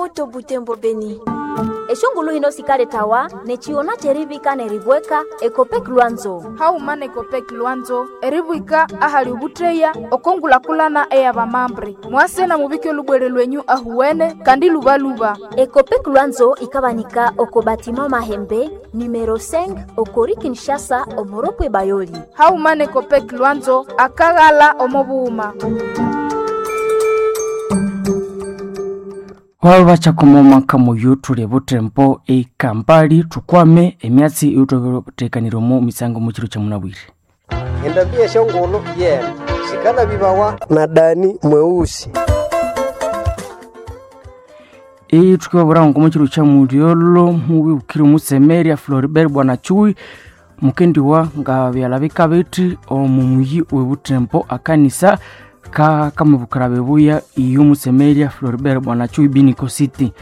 Moto Butembo Beni. Eshongulu hino sikaletawa nechiona cherivika neribweka Ekopek Lwanzo. Hauma na Ekopek Lwanzo eribwika ahali ubutreya okongulakulana eyabamambre mwase na mubike olubwere lwenyu ahuwene kandi lubaluba. Ekopek Lwanzo ikabanika oko batima Mahembe numero 5 okori Kinshasa omoropwe Bayoli. Hauma na Ekopek Lwanzo akaghala omo buhuma. Waba bachakomomaka muyu tuli butembo ekampali tukwame emyatsi eyithutekaniremo misango mukiro kya munabwire. Endambi esyongulhu yene sikanabibawa na Dani mweusi. Ithukibabwira ngo mukiro kya mulyolo mubibukire omusemeria Floribert Bwana Chui mukendiwa nga byalabika bithi omu muyi webutembo akanisa kakamubukira bebuya iyo musemeria Floribert Bwana Chui Biniko City.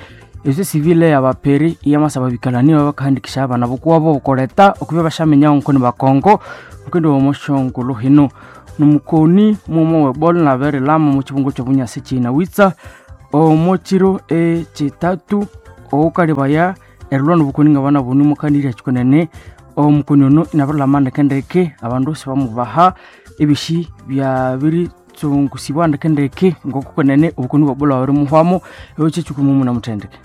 Esyo sivile yabaperi iyamasaba bikalani bakahandikisha abana bokuwabo okoleta okubya bashaminya nkoni bakongo mukendi womoshongolo hino nomukoni mumo webola naberilama mukibungo kyobunyasi kinawitsa omukiro ekitatu oukalibaya erilwa nobukoni ngabana buni mukanirya kikonene omukoni ono inabirilama ndekendeke abandu sibamubaha ebishi byabiritsungusibwa ndekendeke ngokukonene obukoni bwa ebola babirimuhwamo ekyo kyekikumi munamuthendeke.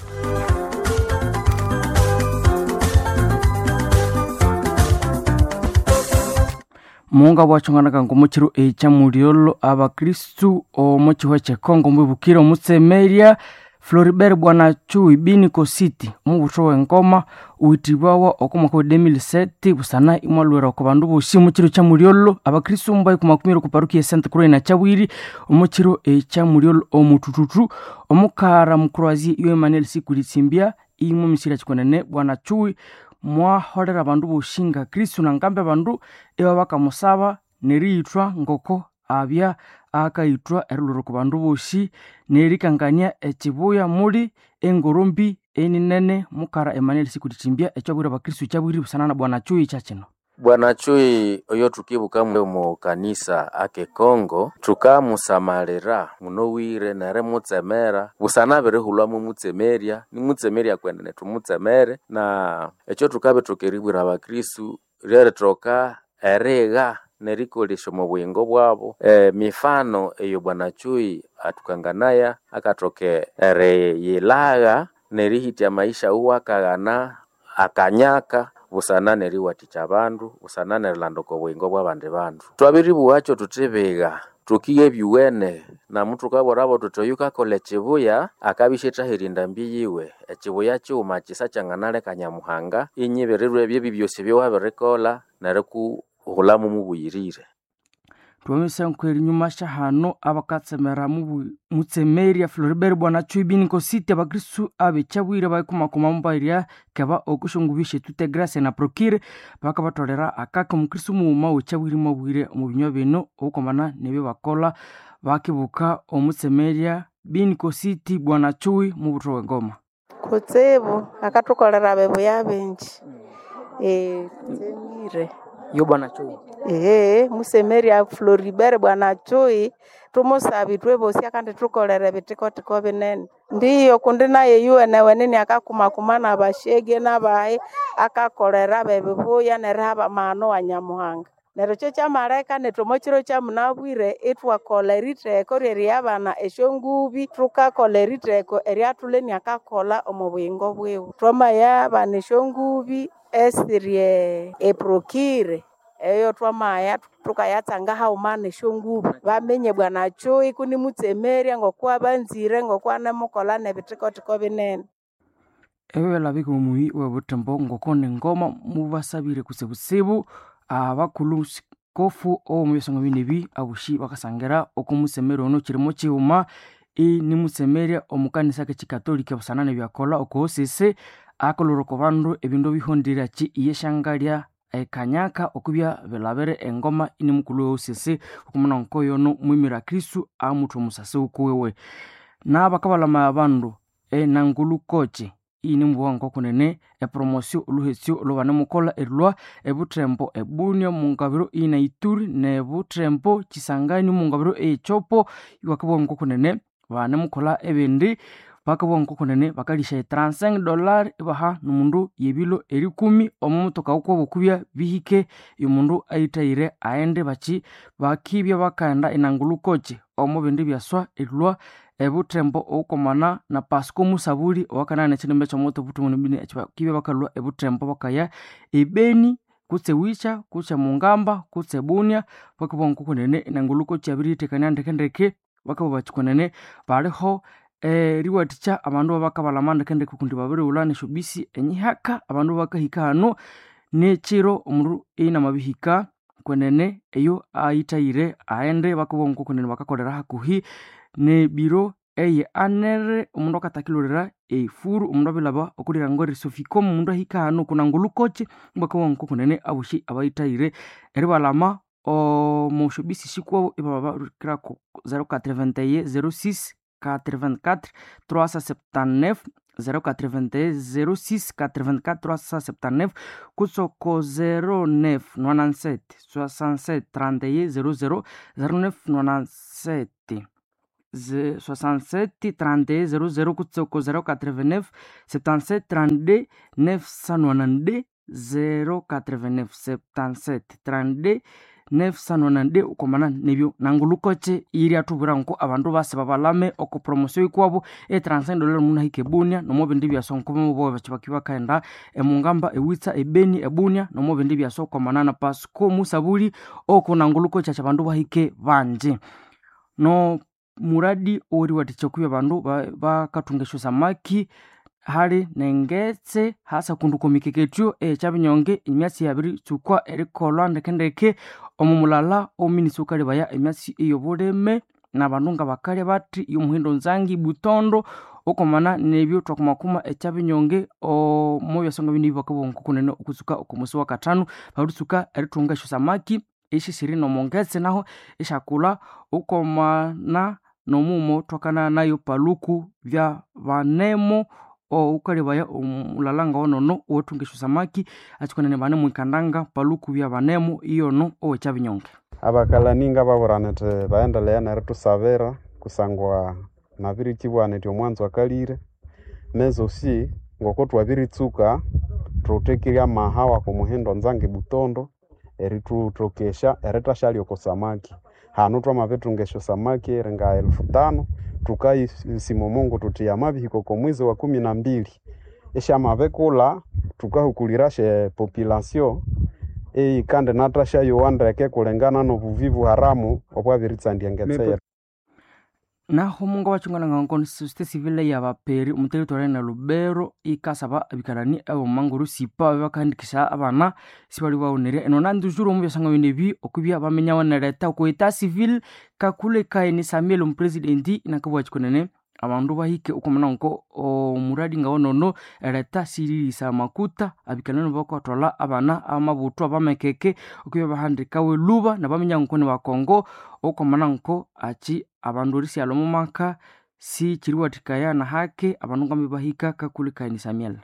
Munga bwachonganaka ngomukiro ekyamulyolo abakristu omukihwa kyekongo mbwibukire omutsemeria Floribert Bwana Chui Biniko City omubutho w'engoma witibwawa oko mwaka wa 2007 busana imwalwera oko bandu bosi omukiro kyamulyolo abakristu mbaikumakumira oku parokia Sainte Croix na Kyabwiri omukiro ekyamulyolo omutututu omukara mukroazi iyo Emmanuel Sikulisimbya imwe misira kikonene Bwana Chui mwaholera abandu bosi nga Kristu nangambe abandu ibabakamusaba neriyithwa ngoko abya akayithwa erilhwera oko bandu bosi nerikangania ekibuya muli engorombi eninene mukara Emmanuel Sikulisimbya ekyabwira abakristu kyabwiri busana na Bwana Chui kyakino. Bwana Chui oyo tukibuka mu kanisa ake Kongo tukamusamalira munowire nerimutsemera busana abirihulhwamu mutsemerya nimutsemerya kwenenetumutsemere na ekyo tukabithoka eribwira abakristu ryerithoka erigha nerikolesya omo buyingo bwabo. Mifano eyo Bwana Chui atukanganaya akathoka eriyilagha nerihitya amaisha wuwe akaghana akanyaka busana neriwathikya abandu busana nerilanda oko buyingo bwabandi bandu. Twabiribugha thuthi bigha tukiye ebyuwene namu thukabwirabo thuthi oyu kakolha ekibuya akabya isyathaherya endambi yiwe ekibuya kighuma kisa kyanganaleka Nyamuhanga inyibirirwa ebyo ebyosi ebyawabirikolha nerikuhulhamu mubuyirire. Twamisanku erinyuma syahano abakatsemera mutsemeria Floribert Bwana Chui Biniko City abakristu abekyabwire baikumakuma mubairya keba okusyongubyo syetute Grace na Procure bakabatholera akaka omukristu mughuma wekyabwire mwabwire omu binywa bino obukwamana nebyabakolha bakibuka omutsemeria Biniko City Bwana Chui mubutho w'engoma. Kutsibu akathukolera bibuya bingi tsemire Yo Bwana Chui. Ehe, musemeria Floribert Bwana Chui tumusaba ithwe bosi akandithukolera ebithikotiko binene. Ndiyo kundi naye yuwenewene akakumakuma nabashege nabayi akakolera bebibuya neriha amahano wa Nyamuhanga. Neryo ekyo kyamaleka nethu omo kiro kyamunabwire ithwakolha eritheko ryeriyabana esyongubi thukakolha eritheko eryathulha iniakakolha omo buyingo bwiwe. Twamayabana esyongubi esiri eprokire eyo twamaya thukayatsanga haghuma nesyongubi. Bamenye Bwana Chui kunimutsemerya ngokwabanzire ngokwanemukolha nebithikotiko binene. Ebyo byalabika omuyi webuthembo ngoko nengoma mubasabire kutsibutsibu abakulhu sikofu owomu byasonga binebi abosi bakasangira oko musemeri ono kirimo kighuma inimutsemerya omu kanisa kekikatolika busana nebyakolha oko osisi akolhwera oko bandu ebindu ebihondire ki iyesyangalya ekanyaka okubya bilabire engoma inimukulhu we osisi okumuna nkoyono mwimira Kristu amutha omusasi wukuwiwe. Nabakabalama abandu enangulu kochi inimubugha ngokunene epromosio olhuhesyo olhwabanimukolha erilhwa ebuthembo ebunia omungabiro ina Ituri nebuthembo Kisangani omungabiro eyechopo iwakabugha ngokunene banemukolha ebindi. Bakabugha ngokunene bakalisha $35 ibaha nomundu yebilo erikumi omo motoka wukwabo okubya bihike omundu ayithayire aghende bakyi bakibya bakaghenda inangulukoki omo bindi byaswa erilhwa ebuthembo obukomana na Pasco Musabuli owakanaya nekyinimba kyomuti obuthungu nebini bakibya bakalhwa ebuthembo bakaya ebeni kutse Wicha kutse Mungamba kutse Bunia. Bakabugha ngokunene inangulukoki yabiriyithekania ndekendeke. Bakabugha bathi kwenene baliho eriwathikya abandu abakabalama ndekendeke kundi babirighulha nesyobisi enyihaka abandu bakahika hano nekyiro omundu inamabihika kwenene eyo ayithayire aghende. Bakabugha ngokunene bakakolera hakuhi nebiro eye anere omundu akatakilholera efuru omundu abilhaba okulhirango erisoficom omundu ahika hano kunangulukoki. Bakabugha ngokunene abosi abayithayire eribalama omo syobisi sikwabo ibababirikirako 081 06 84 379 081 06 84 379 kutse oko 09 97 67 31 00 09 97 67 31 00 kutse oko 089 77 32 992 089 77 32 992 ukomana nebyo nangulukoche iri athubwira nko abandu basi babalame oko promosio ikwabo e $35 omundu ahika ebunia nomo bindi byaswa nko bobo bakyi bakaghenda emungamba ewitsa ebeni ebunia nomo bindi byaswa ukomana na Pasco Musabuli oko nangulukoche akyi abandu bahike banji no muradi oweriwathikya okubya abandu bakathunga esyosamaki hali nengetse hasa kundi okwamikeketyo ekyabinyonge emyatsi yabiritsuka erikolhwa ndekendeke omo mulala ominista wukalebaya emyatsi eyobulime nabandu ngabakalya bathi yomuhindo nzangi butondo okomana nebyo thwakumakuma ekyabinyonge omo byasonga bino bakabugha ngokunene okutsuka okomusi wakathanu babiritsuka erithunga esyosamaki esisiri nomongetse naho esyakulha okomana nomumo thwakana nayo paluku bya banemo owukalebaya omulala ngawonono owathunga esyosamaki akyikonene banemwikandanga paluku bya banemo iyono owekyabinyonge. Abakalani ngababwira nyithi baghendeleye nerithusabira kusangwa nabirikyibugha nyithi omwanzo akalire mezosi ngoko thwabiritsuka thuthekirye amaha wako Muhindo Nzangi Butondo erithuthokesya erithashyalya oko samaki. Hanu thwamabithunga esyosamaki eri nga 5000 thukayisima omungu thuthi yamabihika oko mwezi wa 12 isyamabikulha thukahukulirasyo epopulation eyikandi nathasyayowa ndeke kulingana nobuvivu haramu obwabiritsandya engetse yethu. Naho mungu abachungana nga société civile yabaperi omu territory na Lubero ikasaba abikalani ab'omumanguru sipa bakahandikisha abana sibali bawonerya eno nandujuru omu byasanga bino ebi okubya bamenyawo nereta oko etat civil kakule kaini Samuel omupresidenti inakabugha kyikonene abandu bahike okwamana nko omuradi ngawonono ereta siririsa amakuta abikalani bakathwalha abana amabuthwa abamekeke okubya bahandikawe lhuba nabaminya nko nibakongo okwamana nko akyi abandu erisighalha omo maka sikyiriwathikaya nahake abandu ngambi bahika kakule kaini Samuel.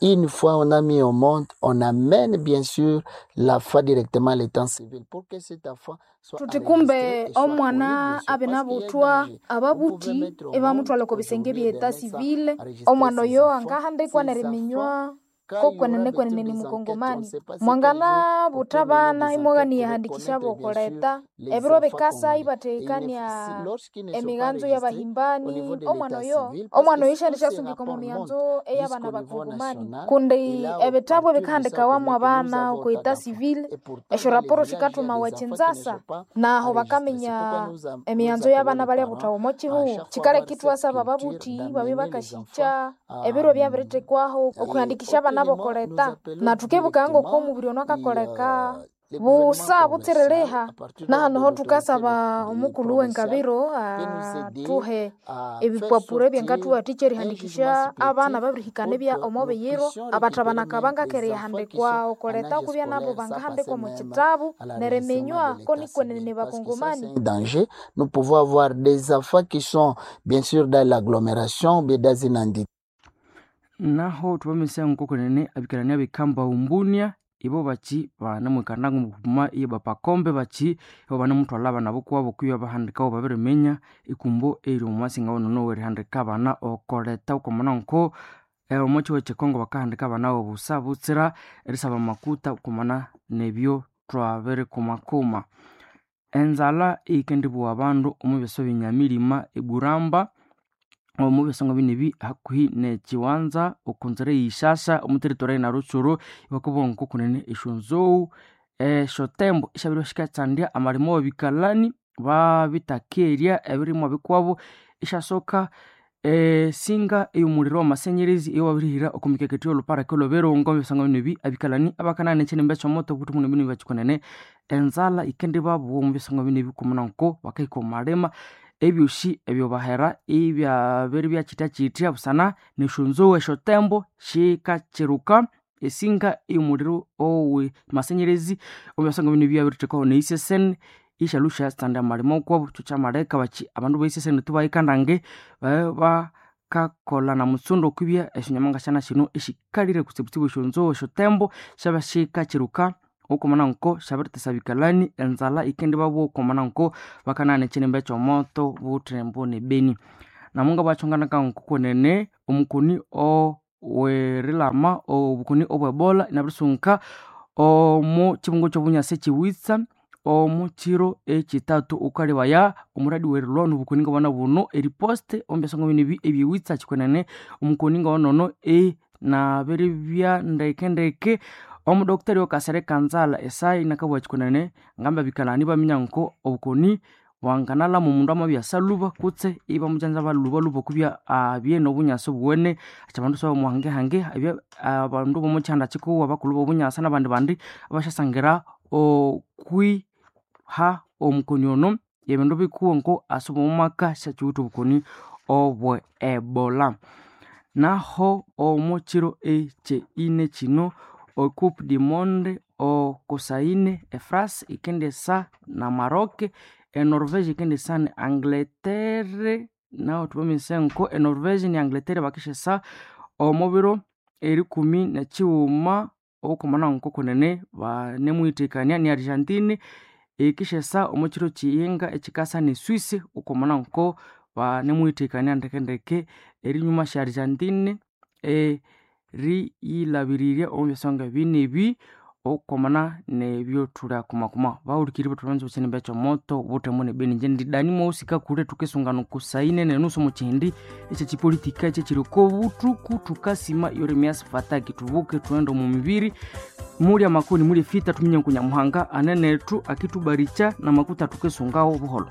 Une fois on a mis au monde, on amène bien sûr la foi directement à l'état civil pour que cette enfant soit Thuthi kumbe enregistrée et soit connue, omwana bien sûr, abe parce qu'il y a un nabuthwa danger. Vous pouvez ababuthi mettre au monde ibamuthwalha oko bisenge aujourd'hui bye des etat médecins civil enregistrer omwana ses oyo enfants, angahandikwa ses enfants. neriminywa Quand il y ko aura kwenene peut-être kwenene ni des enquêtes, on ne mukongomani sait pas c'est quel jour, on peut mwanganabutha mener bana des imwaghaniya enquêtes pour handikisha reconnaître bien sûr bokoleta les ebiro enfants bikasa congolais. Et il ne, ibathekania lorsqu'ils ne sont pas emiganzo enregistrés au y'abahimbani niveau de omwana l'état oyo civil, parce omwana que oyo tous syandi ces syasungika omo rapports montent miyanzo ey'abana jusqu'au niveau bakongomani national, et kundi là, au ebitabu partir de ça, ebikahandikawamu on connaît que nous abana avons oko autant etat d'enfants. civil Et pourtant, esyo dans les raporo villages, il y a des sikathumawa enfants qui ne ekinzasa sont pas naho enregistrés. C'est pourquoi bakaminya nous emiyanzo appelons y'abana les balya parents buthawa omo à kihugho chaque fois kikale avoir cette kitwasaba culture ababuthi babe d'amener les enfants bakashikya à, ebiro byabirithekwaho et okuhandikisha abana autrement, nous bokoleta appelons nathukibuka ngoko directement omubiri ono et, akakoleka le gouvernement busa provincial, butsiririha à partir donc de nahano ho l'autorité thukasaba omukulhu provinciale, wengabiro peut nous aider athuhe à faire ebipapuro sortir ebyangathuwathikya un jugement erihandikisha abana supplétif babirihikana pour ebya que omo nous biyiro puissions abathabana récupérer même les enfants qui kabangakererihandikwa sont en okoleta âge okubya nabo scolaire sans passer bangahandikwa omu même kitabu à l'enregistrement neriminywa de ko l'état nikwenene civil. Parce que ça, c'est bakongomani un danger. Nous pouvons avoir des enfants qui sont bien sûr dans l'agglomération, bien dans une entité. Naho thubamesa nkokunene abikalani abikamba umbunia Ibo bachi banemwikanda ngokuma iye bapakombe bachi ibo banemuthwalha abana bokwabo kwibya bahandikawo babiriminya ikumbo eyiri omwasinga wonono werihandika abana okoleta okwamana nko omo kyihugho kyekongo bakahandika abana bobusa butsira erisaba amakuta okwamana nebyo twabirikumakuma. Enzalha eyikendibugha abandu omu byasa byenyamilima eburamba omu byasonga binebi hakuhi nekyiwanza okunzira eyishasha omu territory eye Rutshuru ibakabugha ngokunene esyonzou esyotembo isyabiribya sikatsandya amalima awabikalani babitakerya ebirimwa bikuwabo isyasoka esinga eyomuliro wamasenyerezi eyowabirihira oko mikeketho yolhuparaka olwebirongo ebyasonga binebi abikalani abakanana ekyinimba ekyomoto obuthi muno bino bakikonene enzalha yikendibabugha omu byasonga binebi kumuna nko bakahika omu malima ebyosi ebyobahera ibyabiribya kyithyakyithya busana nesyonzou esyotembo syikakyiruka esinga eyomuliro owe masenyerezi omu byasonga bino byabirithekaho neiseseni ishalhu syatsanda amalima okwabo kyo kyamaleka baki abandu beiseseni tubayikandange babe bakakolha namutsundo okwibya esyonyama ngasyana syino esyikalire kutsibutsibu esyonzou esyotembo syabya sikakyiruka okwamana nko syabiritesa abikalani enzalha yikendibabugha okwamana nko bakanahana ekyinimba ekyomoto Butembo ne Beni. Namunga bwakyonganaka ngokwenene omukoni owerilama obukoni obwe Ebola inabirisunguka omu kyibungo kyobunyasi ekyiwitsa omu kyiro ekyithathu wukalebaya omuradi werilwa nobukoni ngabana buno eriposte omu byasonga binebi ebyewitsa kyikwenene omukoni ngawanono inabiribya ndeke ndeke omudokitari okasere kanzala esai inakabugha kyikwenene ngamba abikalani ibaminya nko obukoni bwanganalhama omundu amabya asaluba kutse ibamugyanzaba lhubalhuba okwibya abye nobunyasi obuwene achi abandu sibamuhangehange abye abandu bomukyihanda kyikuwu abakulhu bobunyasa nabandi bandi abasyasangira okwiha omukoni ono ebindu bikuwu nko asuba omumaka syakyiwithe obukoni obwe Ebola. Naho omu kyiro ekyeine kyino e Coupe du Monde okusaine e France yikendisa na Maroc, e Norvege yikendisa ne Angleterre nahu thubaminyise nko e Norvege ne Angleterre bakisyesa omu biro erikumi nekyighuma okwamana nkokunene banemuyithekania ne Argentine eyikisyesa omu kyiro kyiyinga ekyikasa ne Swiss okwamana nko banemuyithekania ndeke ndeke erinyuma sya Argentine eriyilhabirirya omu byasonga binebi okwamana nebyo thulyakumakuma. Bahulikiriri bethu abanza ekyinimba ekyomoto Butembo ne Beni ingye ndi Dani Mweusi Kakule thukisungana oku saa ine nenusu omu kihindi ekyekipolitika ekyekiri okobuthuku thukasima Yeremias Fataki thubuke thughende omu mibiri mulya amakoni mulya efita thuminye nku Nyamuhanga anenethu akithubarikya namakuta thukisungawo buholho.